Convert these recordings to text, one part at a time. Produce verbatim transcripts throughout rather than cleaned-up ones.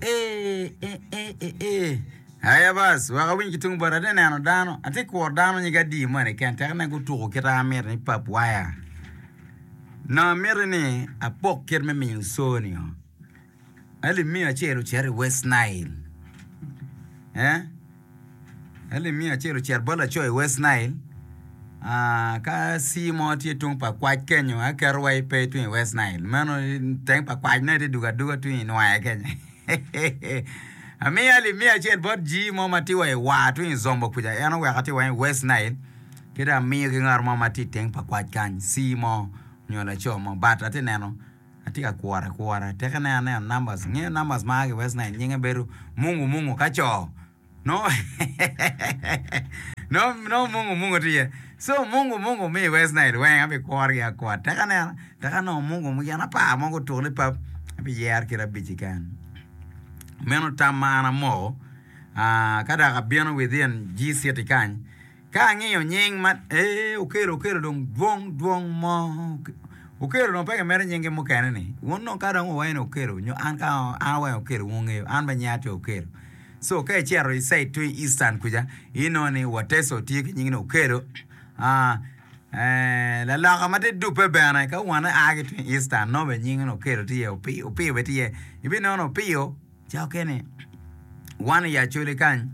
Ee, ee, ee, ee, ee. Aya bas, wek awiny ki tung bota, atye neno dano, atye kuro dano nyig adi moni keken, tek ne gutuko kit a amito ni pap waya. Nongo amiti ni apok kit me miyo co-ni o. Alip miya acel ocito i West Nile. Eh? Alip miya acel ocito bot laco i West Nile. Ah, ka C mo tye tung pa kwac kenyo, aketo wa pe tung i West Nile. Meno teng pa kwac ne tye dugo aduga tung i Nwaye kenyo. Amiyo alip miya acel bot G mo ma tye wa i war tung i Zombo kuca. En oweko atye wa i West Nile. Ki dong amiyo ki ngat mo ma tye i teng pa kwac kany, C mo nyo laco mo. But atye neno Atye ka kworo akwora teke ne aneno numbers ngeyo numbers ma a ki West Nile nyinge bedo mungu mungu ka co nongo nongo mungu mungu tye iye so mungu mungu me i West Nile weng abi kworogi akwora teke aneno teke anongo mungu gin apar mo gutuko ni pap abiyero kit abic keken meno tam ma an amoko ka dok abino within G city kany Ka angiyo nying ma ee Okello Okello dong dwong dwong mo Okello dong pe kimito nyingi mukene ni wun dong ka dong wuwaco ni Okello nyo an ka an awaco ni Okello wun wungeyo an bene nyinga tye Okello so ka icito i cide tung i Eastern kuca inongo ni Wateso tye ki nying ni Okello laloka ma tye dubbe bene ka wane a ki tung i Eastern nongo bene nyinge ni Okello tye iye Opiyo bene tye iye ibinongo ni Opiyo Ca okene wan i Acholi kany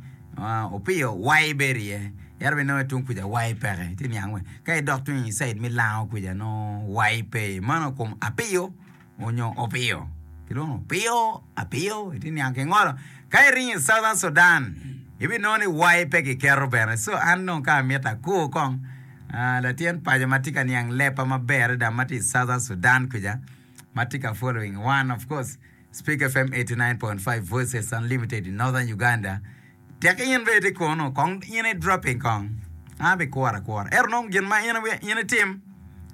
opiyo wai bedo iye ento bene nongo tung kuca wai peke itye niang we ka idok tung i cide me lango kuca nongo wai pe meno kom apiyo onyo opiyo kilwongo ni opiyo apiyo itye niang kingolo ka iringo i Southern Sudan ibinongo ni wai pe kiketo bene so an dong ka amito akur kong latin paco ma tye ka niang lebba maber adada ma tye i Southern Sudan kuca ma tye ka following one of course Speak F M eighty nine point five Voices Unlimited in Northern Uganda Tek in bene itye kunu kong in i dropping kong an abikuro akura ento nongo gin ma in in itim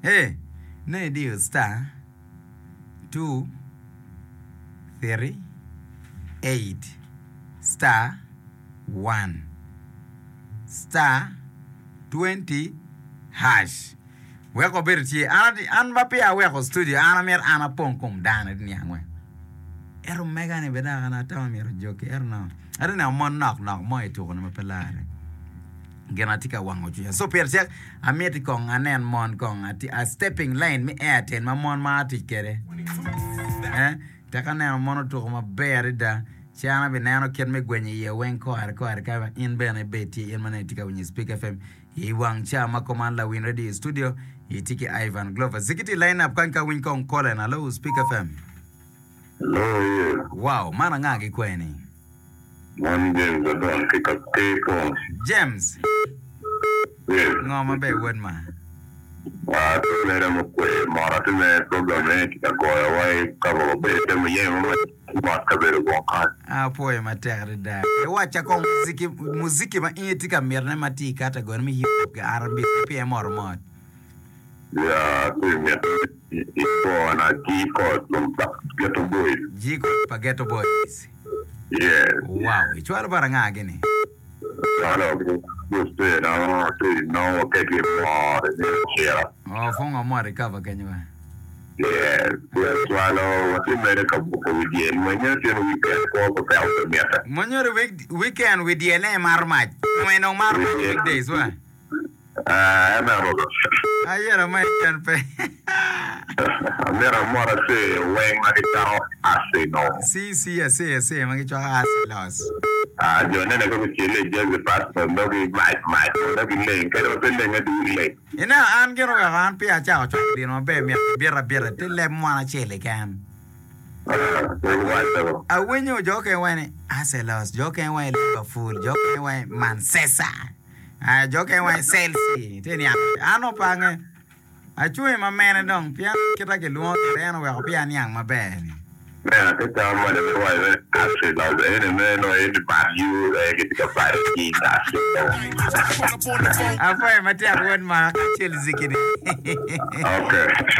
ee nongo idiyo star two three eight star one star twenty hash Wek wabedo tye. An an ma peya aweko studio an amito an apong kom dano iti niang we. Ento mega ni bene dok an atamo myero ojoki ento no. Ento neno mon nok nok mo i tuko ni ma pe lare. Gin atye ka wango cwinya. So pire cek amiti kong anen mon kong ati a stepping line me Airtel ma mon maro tic kwede. Eh, tek aneno mon otuko maber adada ci an abineno kit me gwenyo iye weng kore kore ka in bene ibed tye in ma nene itye ka winyo Speak F M I wang ca ma koman lawiny radio i studio itye ki Ivan Glover. Ziki tye i line up kany ka winy kong Colin. Hello Speak F M. Hello yes. Wow, man anga ki kweni? Man James Adon ki ka K-Pong. James. Yes. Ngo maber wod ma? Waa atye mere mukwe mot atye mere program eni tye ka goyo wa i kaba wabedo te muyeme ma mot kabedo gwok kany. Apwoyo matek adada. Iwacca kong muziki, muziki ma in itye ka mitone ma tye i category me hip hop ki R and B pien mot mot. Ya, atye mito i kwona G Code pa Ghetto Boys. G Code pa Ghetto Boys. Yes. Wow, icwalo bot anga gini? Cwalo ki Jose na atye nongo wakedgi i mor i nino cira. Oh, pwongo amot i cover kenyo ba. Yes, cwalo watye mere ka buko wi dyel mwenye otyeno weekend kwo pe peko pe mitte. Mwenye ori weekend wi dyel ne mato mac. Kome dong mato mac weekdays wa. Eh, eneno. Ayero ma en pe. Amito amot acer weng ma gicako Arsenal. Si si acer acer ma gicwako Arselos. Ah, jo nene ka gucelle i jersey pa Arsenal nongo gimac mac nongo gileng kadi wa pe lenge ducu leng. Ineno an gin oweko an peya acako cwako dino maber myero abit abita tye leb mwan acel keken. Ah, pe guwaco. Awinyo jo okene waco ni Arselos, jo okene waco ni Liverpool, jo okene waco ni Manchester. Aya jo okene waco Celsi, itye niang? An dong pe ange. Acungi ma mene dong pien kita kilwongo kwede en oweko peya aniang maber ni. Nena ki tam ma dong iwaco ni Arsenal eni me nongo aye ni Man U aye gitye ka balo nying Arsenal. Apwoyo matek wod ma kacel ziki ni. Okay.